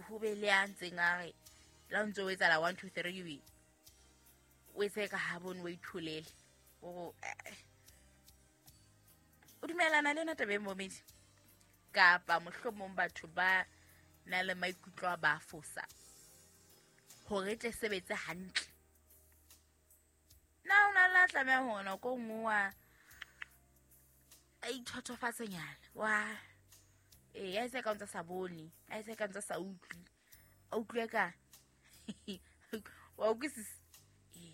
Ho be le a ntseng a re la o ntse o etsala 1 2 3, o etse ka ha bone, o itholele o o dumelana le yona taba e, momedi, kapa mohlomong batho ba na le maikutlo a ba fosa hore e tle sebetse hantle? Na o na le a tlameha hore nako e nngwe wa a ithothofatsenyana, wa ee, a etse ka ntse sa bone, a etse ka ntse sa utlwe, a utlwe ka wa utlwisisa? Ee,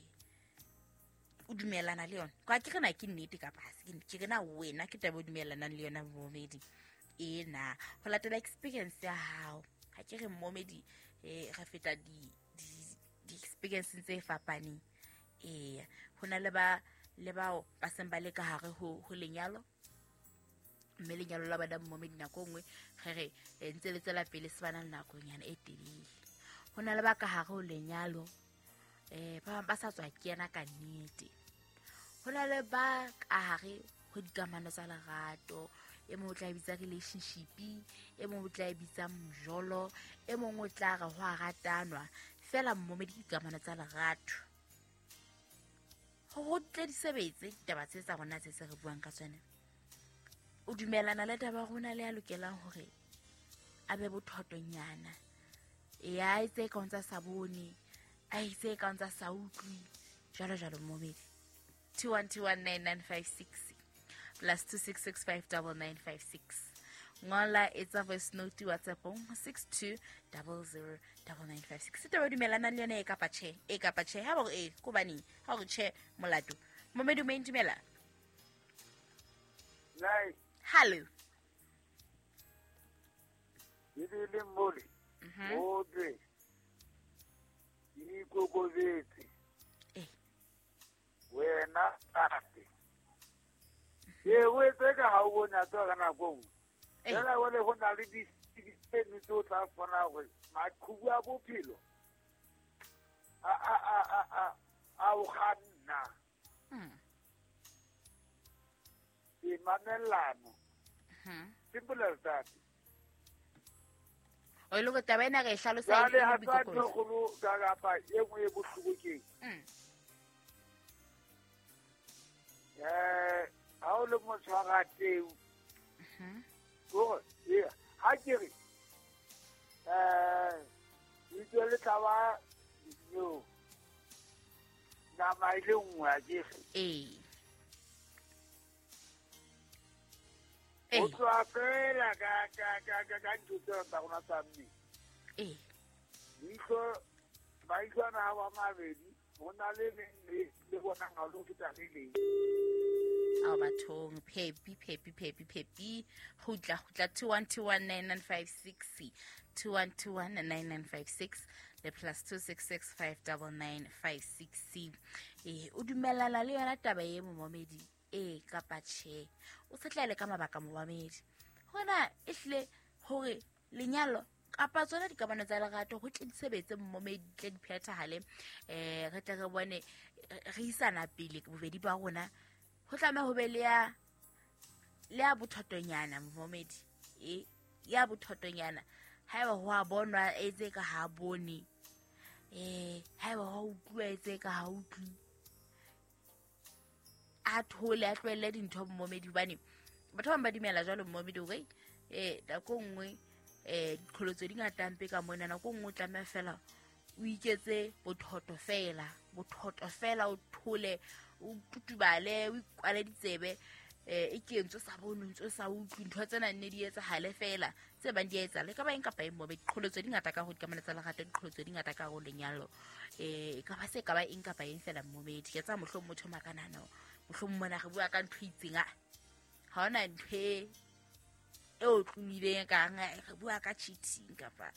o dumelana le yona kwa ke re na ke nnete kapa ha se ke nnete? Ke re na wena ke taba o dumelanang le yona, momedi, ee na? Ho latela experience ya hao, ha ke re momedi, re feta di-experience tse fapaneng. Ee, ho na le ba le bao ba seng ba le ka hare ho lenyalo, mme lenyalo la bona, momedi, nako e nngwe re re ntse le tswela pele, se ba na le nakonyana e telele. Ho na le ba ka hare ho lenyalo, ba bang ba sa tswa kena ka nnete. Ho na le ba ka hare ho dikamano tsa lerato, e mong o tla e bitsa relationship, e mong o tla e bitsa mjolo, e mong o tla re ho a ratanwa fela. Mmomedi, dikamano tsa lerato, ho tle di sebetse ditaba tse tsa rona tse re buang ka tsone, o dumelana le taba rona le ya lokelang hore a be bothotonyana, e a etse ka ntsa sa bone, a itse ka ntsa sa utlwi, jwalo jwalo? Momedi, 21219956 plus 266 59956. Ngola, etsa voice note WhatsAppong 62009956. Taba dumelana le yona e kapa tjhe? E kapa tjhe? Ha ba gore e, ko baneng? Ha gore tjhe, molato. Momedi, o dumela. Nice. Hallo. Ebile mole o twe ikokobetse. Wena tate, ee, o etse ka ga o bone a tswa ka nako nngwe. Fela jale go na le ditseno tse o tla kgona gore maqhubu a bophelo a o kganna. E mamellano. Simple as that. O ile go taba ena re e hlalosa e jale le ha tsa ntho boikokobetso. Kgolo ka kapa e nngwe e bohloko ke ha o le motshwarateu, kore ee, ha ke re leitso le tla ba yo nama e le nngwe, a ke re? Ee. O tloha fela ka ntho tseo tsa rona tsa mmele. Leihlo, maihlo ana a ba mabedi, ho na le leng le bonang ha lo feta le leng. Ao bathong, phepi phepi phepi phepi, gutla gutla. 21219956, 21219956 le plus 266 59956. Ee, o dumelana le yona taba e, momamedi, ee kapa tjhe? O se tlaele ka mabaka, momamedi, gona e hlile gore lenyalo kapa tsona dikamano tsa lerato go tle di sebetse, mmomedi, tle di phethahale, re tle re bone re isana pele bobedi ba rona, go tlameha ho be le ya bothotonyana, momedi, e ya bothotonyana. Haeba ho a bonwa, etse ka ha bone, haeba ho utlwa, etse ka ha utlwi, a thole, a tlohelle dintho, mmomedi, hobane batho ba bang ba dumela jwalo, mmomedi, hore nako nngwe diqholotso di ngata mpe ka mona. Nako nngwe o tlameha fela o iketse bothoto fela, bothoto fela, o thole, o tutubale, o ikwale ditsebe, e ke ntse o sa bone, ntse o sa utlwe, ntho tsena nne di etsahale fela tse bang di a etsahale, e ka ba eng kapa eng mobe. Diqholotso di ngata ka ho dikamano tsa lerato, diqholotso di ngata ka ho lenyalo, e ka ba se ka ba eng kapa eng fela, mmomedi. Ke tsa mohlomong motho o makanana, mohlomong mona re bua ka ntho e itseng, a ha hona ntho e o tlomileng kang re bua ka cheating, kapa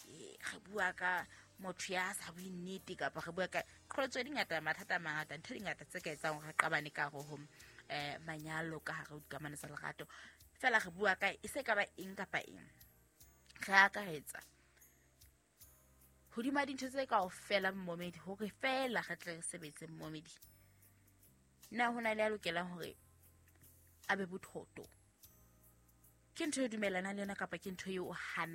re bua ka motho ya sa bue nnete, kapa re bua ka qholotso di ngata, mathata a mangata, ntho di ngata tse ka etsang hore re qabane ka hare ho manyalo, ka hare ho dikamano tsa lerato. Fela re bua ka e se ka ba eng kapa eng, re akaretsa hodima dintho tse kaofela, mmomedi, hore fela re tle re sebetse, mmomedi. Na ho na le ya lokelang hore a be bothoto? Ke ntho e dumelanang le yona kapa ke ntho eo o hanang?